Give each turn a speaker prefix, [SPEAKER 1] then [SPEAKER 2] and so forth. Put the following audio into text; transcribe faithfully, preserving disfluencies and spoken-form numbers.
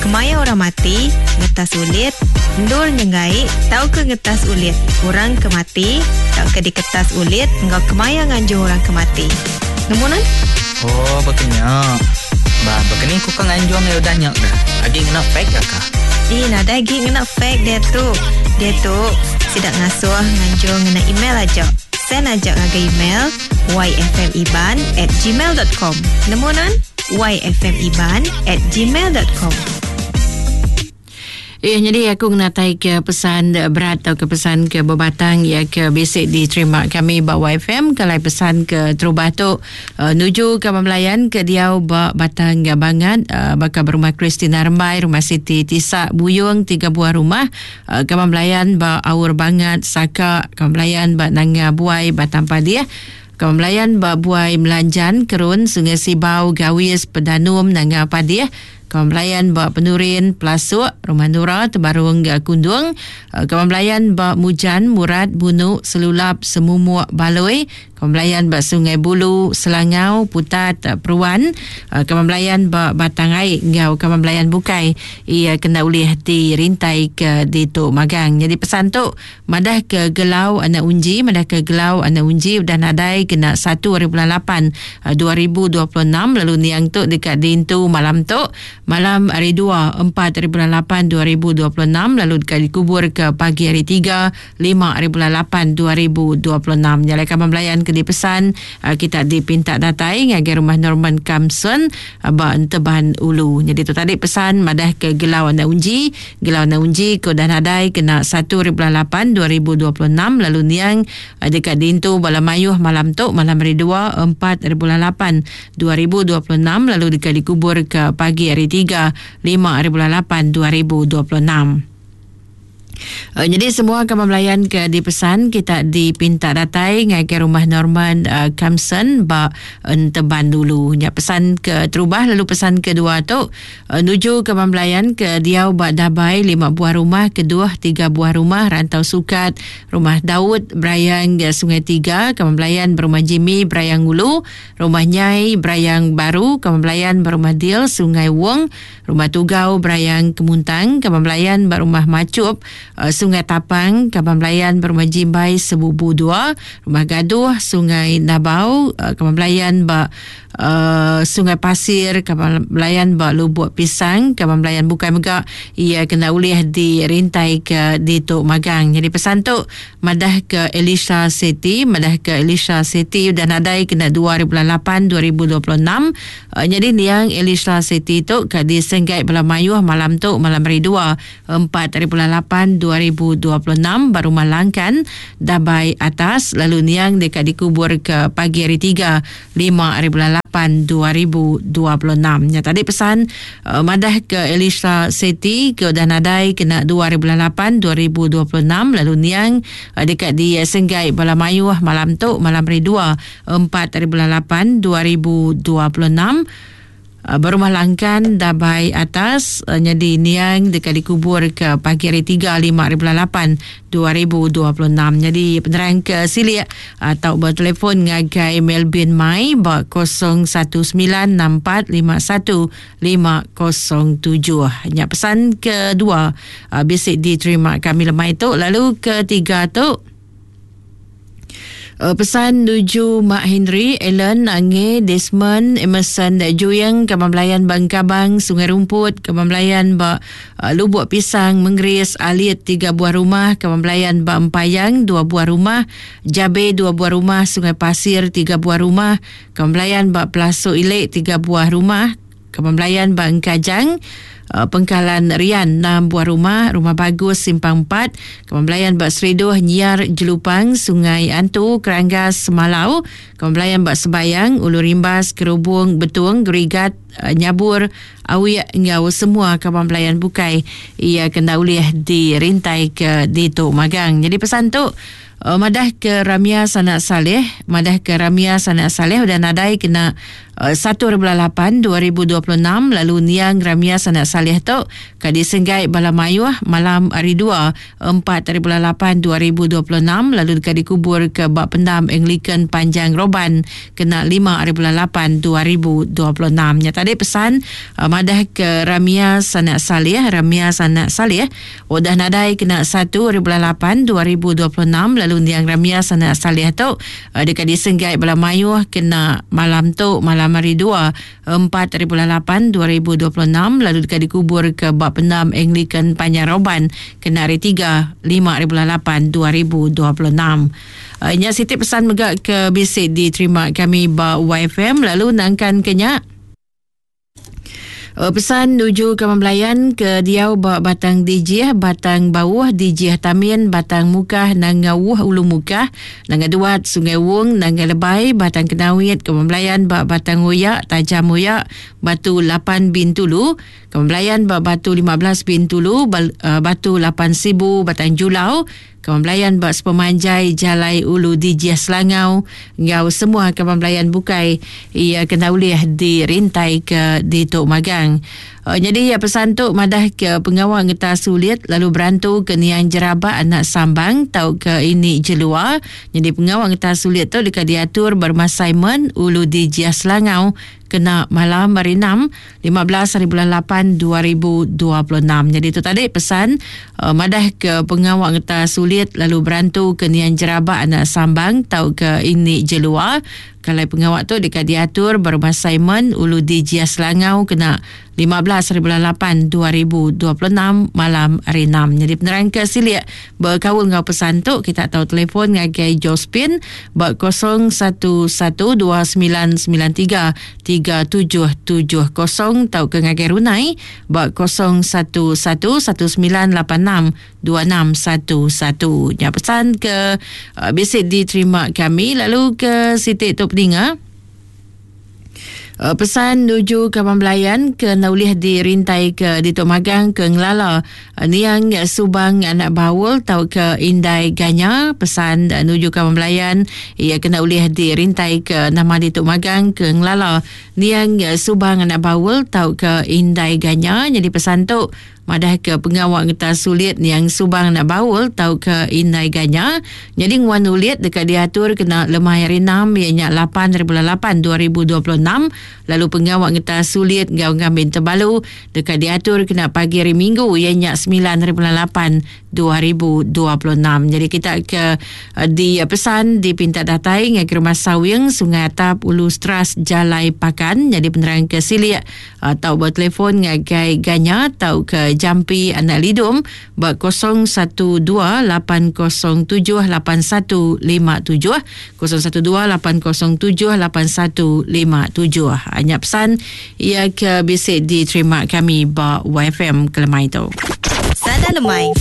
[SPEAKER 1] Kemaya orang mati, ngetas ulit, endur nyenggai tauka ngetas ulit orang ke mati tauka diketas ulit enggau kemaya nganjung orang ke mati. Nemu nan?
[SPEAKER 2] Oh, bekenya. Ba, bekeni ku ke nganjung ya udah nyak dah. Agi ngena fax ke?
[SPEAKER 1] Ih, nadai agi ngena fax dia tu. Dia tu sidak ngasuh nganjung ngena email aja. Send aja ngagai email y f m iban at gmail dot com. Nemu nan? y f m iban at gmail dot com.
[SPEAKER 3] Eh, jadi aku ngenatai ke pesan berat atau ke pesan ke berbatang ya ke basic diterima kami ba Y F M kalau pesan ke terubah tu uh, nuju ke pembelayan ke diau ba Batang Bangat uh, bakal berumah Christina Rembai, rumah Siti Tisak Buyung tiga buah rumah, uh, ke pembelayan ba Aur Bangat Saka, ke pembelayan ba Nanga Buai Batang Padih. Kembelayan ba Buai Melanjan Kerun Sungai Sibau Gawis Pedanum Nanga Padih. Kembelayan ba Penurin Pelasuk Rumah Nura Tebarung Kundung. Kembelayan ba Mujan Murad Bunu Selulap Semumuk Baloi. Kembelayan ba Sungai Bulu Selangau Putat Peruan. Kembelayan ba Batang Aik ngau kembelayan Bukai ia kena ulih dirintai ke di tu magang. Jadi pesan tu madah ke Gelau anak unji, madah ke Gelau anak unji udah nadai kena satu hari bulan lapan dua ribu dua puluh enam lalu niang tu dekat dintu malam tu malam hari dua empat hari bulan lapan dua ribu dua puluh enam lalu dekat dikubur ke pagi hari tiga lima hari bulan lapan dua ribu dua puluh enam. Jalai kembelayan ke dipesan kita dipinta datai ngagai rumah Norman Kamson ba Enteban Ulu. Jadi tu tadi pesan madah ke Gelau anak unji, Gelau anak unji ke dah nadai kena satu hari bulan lapan dua ribu dua puluh enam lalu niang dekat dintu bala mayuh malam tu malam hari dua empat hari bulan lapan dua ribu dua puluh enam lalu dekat dikubur ke pagi hari tiga lima hari bulan lapan dua ribu dua puluh enam. Uh, jadi semua kawan melayan ke dipesan kita dipinta datai ngagai rumah Norman uh, Kamson ba Enteban dulu. Nya pesan ke terubah lalu pesan kedua tu uh, nuju kawan melayan ke diau ba Dabai lima buah rumah, kedua tiga buah rumah Rantau Sukat, rumah Daud Berayang Sungai Tiga, kawan melayan berumah Jimmy Berayang Ulu, rumah Nyai Berayang Baru, kawan melayan berumah Dil Sungai Wong, rumah Tugau Berayang Kemuntang, kawan melayan berumah Macup Sungai Tapang, Kaban Belayan berumah Jimbai Sebubu dua, Rumah Gaduh Sungai Nabau, Kaban Belayan ba uh, Sungai Pasir, Kaban Belayan ba Lubuk Pisang, Kaban Belayan Bukai Megak ia kena ulih dirintai ke di Tok Magang. Jadi pesan tu madah ke Elisha Seti, madah ke Elisha Seti dan nadai kena dua hari bulan lapan dua ribu dua puluh enam. Uh, jadi niang Elisha Seti tu ke disenggai bala mayuh malam tu malam hari dua empat hari bulan lapan dua ribu dua puluh enam baru Malangkan Dabai Atas lalu niang dekat dikubur ke pagi hari tiga lima hari bulan lapan dua ribu dua puluh enam. Ya tadi pesan uh, madah ke Elisha Seti ke dah nadai kena dua hari bulan lapan dua ribu dua puluh enam lalu niang uh, dekat di uh, Senggai Bala Mayuh malam tu malam hari dua empat hari bulan lapan dua ribu dua puluh enam. Berumah Langkan Dabai Atas jadi niang dekat dikubur ke pagi hari tiga lima hari bulan lapan dua ribu dua puluh enam. Jadi penerang ke silik atau bertelefon ngagai Melvin Mai ba kosong satu sembilan enam empat lima satu lima kosong tujuh. Nya pesan kedua bisik diterima kami lemai tu. Lalu ketiga tu pesan nuju Mak Henry, Ellen, Ange, Desmond, Emerson, Juyang, Kaban Belayan Bangkabang, Sungai Rumput, Kaban Belayan Ba Lubuk Pisang, Menggeris, Alit, tiga buah rumah, Kaban Belayan Ba Empayang, dua buah rumah, Jabe, dua buah rumah, Sungai Pasir, tiga buah rumah, Kaban Belayan Ba Pelasuk Ilek, tiga buah rumah, Kaban Belayan Ba Engkajang, Pengkalan Rian enam buah rumah, Rumah Bagus Simpang empat, Kaban Belayan Bak Seriduh Nyiar Jelupang, Sungai Antu, Keranggas Semalau, Kaban Belayan Bak Sebayang, Ulu Rimbas, Kerubung, Betung, Gerigat, Nyabur, Awiak ngau semua Kaban Belayan Bukai ia kena ulih dirintai ke di Tok Magang. Jadi pesan tu Uh, madah ke Ramia Sanak Saleh, madah ke Ramia Sanak Saleh udah nadai kena uh, satu bulan lapan dua ribu dua puluh enam lalu niang Ramia Sanak Saleh tu ka disenggai bala mayuh malam hari dua empat hari bulan lapan dua ribu dua puluh enam lalu dekat dikubur ke bak pendam Anglican Panjang Roban kena lima hari bulan lapan dua ribu dua puluh enam. Nya tadi tadi pesan uh, madah ke Ramia Sanak Saleh, Ramia Sanak Saleh udah nadai kena satu hari bulan lapan dua ribu dua puluh enam lalu niang Ramia Sanak Saleh tu uh, dekat disenggai bala mayuh kena malam tu malam hari dua empat hari bulan lapan dua ribu dua puluh enam lalu dekat dikubur ke bak pendam Anglican Panjang Roban kena hari tiga lima hari bulan lapan dua ribu dua puluh enam. Uh, nya siti pesan mega ke bisi diterima kami ba Y F M lalu nangkan kenya pesan nuju ke Melayan ke diau ba Batang Dijih, Batang Bawah, Dijih Tamin, Batang Mukah, Nanga Wuh, Ulu Mukah, Nanga Duat, Sungai Wong, Nanga Lebai, Batang Kenawit, ke Melayan ba Batang Uyak, Tajam Uyak, Batu lapan Bintulu, ke Melayan ba Batu lima belas Bintulu, Batu lapan Sibu, Batang Julau, Kemelayan bak sepemanjai Jalai Ulu Dijih Selangau ngau semua kemelayan bukai ia kena ulih dirintai ke di Tok Magang. Uh, jadi ya pesan tu madah ke pengawal ngeta sulit lalu berantu ke niang jerabak anak sambang tau ke ini jelua. Jadi pengawal ngeta sulit tu dekat diatur berma Simon Ulu Dijih Selangau kena malam hari enam lima belas hari bulan lapan dua ribu dua puluh enam. Jadi itu tadi pesan uh, madah ke pengawal ngeta sulit lalu berantu ke niang jerabak anak sambang tau ke ini jelua. Kalau pengawal tu dekat diatur berma Simon Ulu Dijih Selangau kena lima belas hari bulan lapan dua ribu dua puluh enam malam hari enam. Jadi penerang ke silik berkaul ngau pesan tu kita tahu telefon ngagai Jospin ber kosong satu satu dua sembilan sembilan tiga tiga tujuh tujuh kosong tau ke ngagai Runai ber kosong satu satu satu sembilan lapan enam dua enam satu satu. Ya pesan ke uh, bisik diterima kami lalu ke sitik tu peninga. Pesan nuju ke Melayan ke naulih dirintai ke di Tok Magang ke Ngelala niang Subang anak Baul tau ke Indai Ganya. Pesan nuju ke Melayan ia kena ulih dirintai ke nama di Tok Magang ke Ngelala niang Subang anak Baul tau ke Indai Ganya. Jadi pesan tu madah ke pengawal ngeta sulit yang Subang nak Baul tau ke Indai Ganya. Jadi nguan ulit dekat diatur kena lemah hari enam ianya lapan hari bulan lapan dua ribu dua puluh enam. Lalu pengawal ngeta sulit ngau ngambin terbalu dekat diatur kena pagi hari Minggu ianya sembilan hari bulan lapan dua ribu dua puluh enam. Jadi kita ke di pesan dipinta datai ngai ke rumah Sawing Sungai Atap Ulu Stras Jalai Pakan. Jadi penerang ke silik atau bertelefon ngagai Ganya atau ke Jampi Anak Lidum ber kosong satu dua lapan kosong tujuh lapan satu lima tujuh kosong satu dua lapan kosong tujuh lapan satu lima tujuh. Hanya pesan ia ke bisik diterima kami ba Y F M kelemai tu.
[SPEAKER 1] Sada lemai.